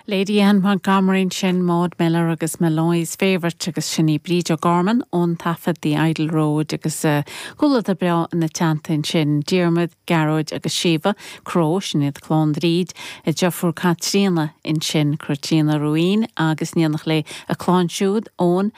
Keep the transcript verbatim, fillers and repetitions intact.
Lady Anne Montgomery sin Maud Miller agus Molloy's Favourite agus sin í Bríd O'Gorman ón taifead The Idle Road agus uh, comhluadar breá ina teannta sin Diarmuid, Gearóid agus Síomha Cró sin iad clann Bhríd a deirfiúr Caitríona ansin Caitríona Ruin agus níonach lé a clann siúd ón